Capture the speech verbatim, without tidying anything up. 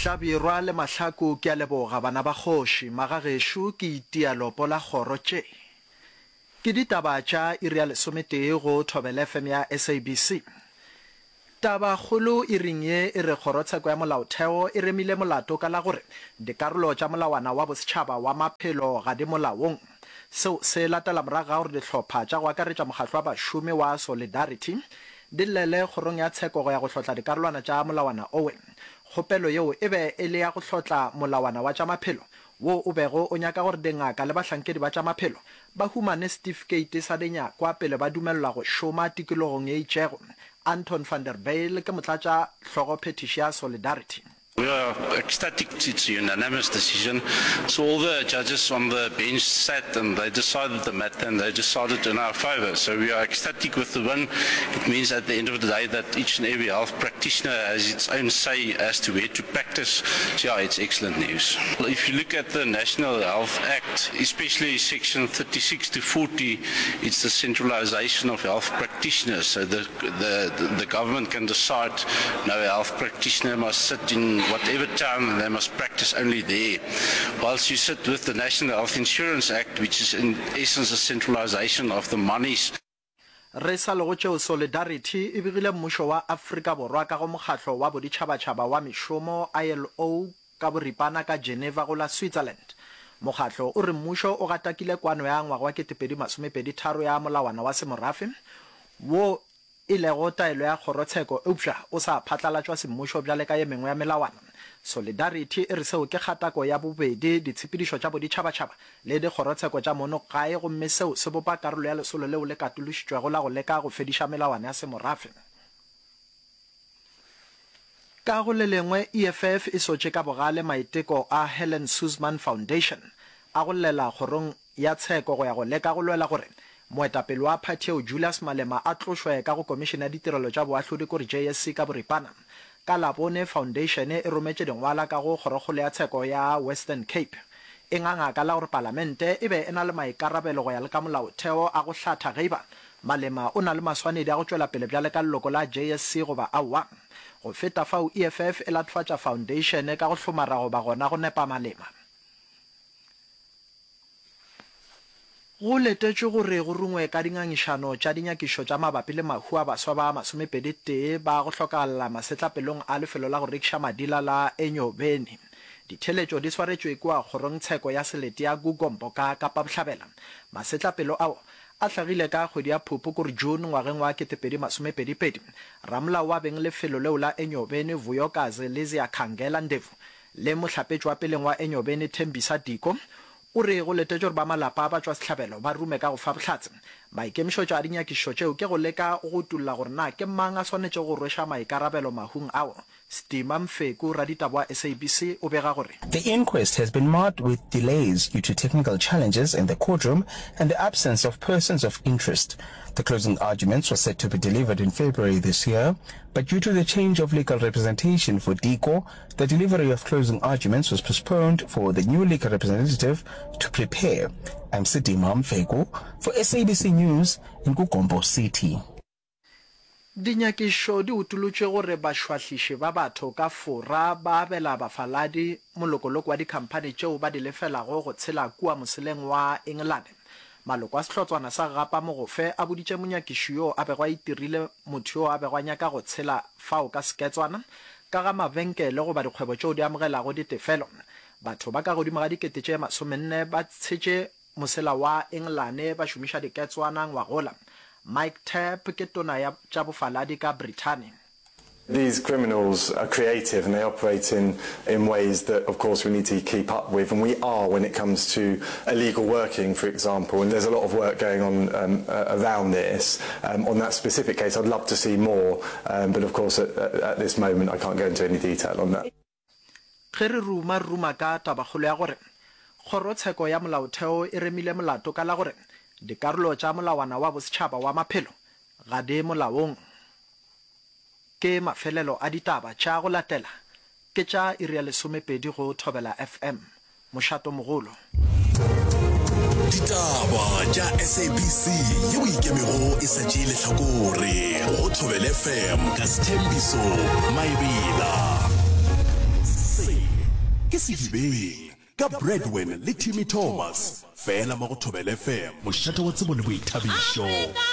Hlabirwa le Mahlaku ke a leboga bana ba kgoši, magagešo ke itia lopo la kgoro tše. Ke ditaba tša iri ya lesometee go Thobela F M ya S A B C. Tabakgolo iring ye e re Kgorotsheko ya Molaotheo e remile molato ka la gore dikarolo tša molawana wa bosetšhaba wa maphelo ga di molaong. Seo se latela morago ga gore dihlopha tša go akaretša mokgatlo wa bašomi wa Solidarity di llele kgorong ya tsheko go ya go hlotla dikarolwana tša molawana owe. Kgopelo yeo e be e le ya go hlotla molawana wa tša maphelo wo o bego o nyaka gore dingaka le bahlankedi ba tša maphelo ba humane setifikeiti sa dinyakwa pele ba dumelelwa go šoma tikologong ye itšego. Anton van der Bijl ke motlatša hlogophethiši ya Solidarity. We are ecstatic, it's a unanimous decision. So all the judges on the bench sat and they decided the matter and they decided in our favor. So we are ecstatic with the win. It means at the end of the day that each and every health practitioner has its own say as to where to practice. So yeah, it's excellent news. If you look at the National Health Act, especially section thirty-six to forty, it's the centralization of health practitioners. So the, the, the government can decide no health practitioner must sit in whatever town and they must practice only there. Whilst you sit with the National Health Insurance Act, which is in essence a centralization of the monies. Re sa le go tšeo, Solidarity e begile mmušo wa Afrika Borwa ka go mokgatlo wa boditšhabatšhaba wa mešomo, I L O, ka boripana ka Geneva go la Switzerland. Mokgatlo o re mmušo o gatakile kwano ya ngwaga wa ketepedi masomepedi tharo ya molawana wa semorafe wo e lego taelo ya kgorotsheko eupša o sa phatlalatšwa semmušo bjale ka ye mengwe ya melawana. Solidarity e re seo ke kgatako ya bobedi ditshepedišo tša boditšhabatšhaba le dikgorotsheko tša mono gae gomme seo se bopa karolo ya lesolo leo le katološitšwego la go leka go fediša melawana ya semorafe. Ka go le lengwe, E F F e sotše ka bogale maiteko a Helen Suzman Foundation a go llela kgorong ya tsheko go ya go leka go lwela gore moetapele wa phathi eo Julius Malema a tlošwe ka go komišene ya ditirelo tša boahlodi kore J S C ka boripana. Ka Labone, foundation e rometše dingwala ka go kgorokgolo ya tsheko ya Western Cape. E nganga ka la gore palamente e be e na le maikarabelo go ya le ka molaotheo a go hlatha ge eba Malema o na le maswanedi a go tšwela pele bjale ka leloko la J S C goba aowa. Go feta fao, E F F e latofatša foundation ka go hlomara goba gona go nepa Malema. Go letetšwe gore go rungwe ka dingangišano tša dinyakišo tša mabapi le mahu a baswa ba masomepedi tee ba go hlokagala masetlapelong a lefelo la go rekiša madila la Enyobeni. Ditheletšo di swaretšwe kua kgorongtsheko ya selete ya Kugompo ka Kapa Bohlabela. Masetlapelo ao a hlagile ka kgwedi ya Phupu kore June ngwageng wa ketepedi masomepedi pedi. Ramolao wa beng lefelo leo la Enyobeni Vuyokazi Lizia Khangela Ndevu le mohlapetši wa peleng wa Enyobeni Thembisa Diko o re go letetšwe gore ba malapa ba tšwa sehlabelo ba rume ka go fa bohlatse. Maikemišetšo a dinyakišišo tšeo ke go leka go utolla gore na ke mang a swanetšego go rweša maikarabelo mahung ao. Stima Mfeku, raditaba wa S A B C, o bega gore. The inquest has been marred with delays due to technical challenges in the courtroom and the absence of persons of interest. The closing arguments were set to be delivered in February this year, but due to the change of legal representation for Diko, the delivery of closing arguments was postponed for the new legal representative to prepare. I'm Sidima Mfeku for S A B C News in KuGompo City. Dinyakišo di utolotše gore bašwahliši ba batho ka Fora ba abela bafaladi molokoloko wa dikhamphani tšeo ba di lefelago go tshela kua moseleng wa Engelane. Maloko a sehlotswana sa gapa mogofe a boditše monyakiši yo a bego a itirile motho yo a bego a nyaka go tshela fao ka seketswana ka ga mabenkele goba dikgwebo tšeo di amogelago ditefelo. Batho ba ka godimo ga dikete tše masomenne ba tshetše mosela wa Engelane ba šomiša diketswana ngwagola. Mike Tapp ke tona ya tša bofaladi ka Brithani. These criminals are creative and they operate in, in ways that, of course, we need to keep up with, and we are when it comes to illegal working, for example, and there's a lot of work going on, um, uh, around this. Um, on that specific case, I'd love to see more, um, but of course, at, at, at this moment, I can't go into any detail on that. Ge re ruma, re ruma ka tabakgolo ya gore kgorotsheko ya molaotheo e remile molato ka la gore dikarolo tša molawana wa bosetšhaba wa maphelo ga di molaong. Ke mafelelo a ditaba tša go latela ke tša iri ya lesomepedi go Thobela F M. Mošato mogolo. Ditaba tša S A B C yeo ikemego e sa tšee lehlakore go Thobela F M ka Sthembiso Maebela. Se Ke Sedibeng ka Bradwin le Timmy Thomas, fela mo go Thobela F M, mošate wa tsebo le boithabišo.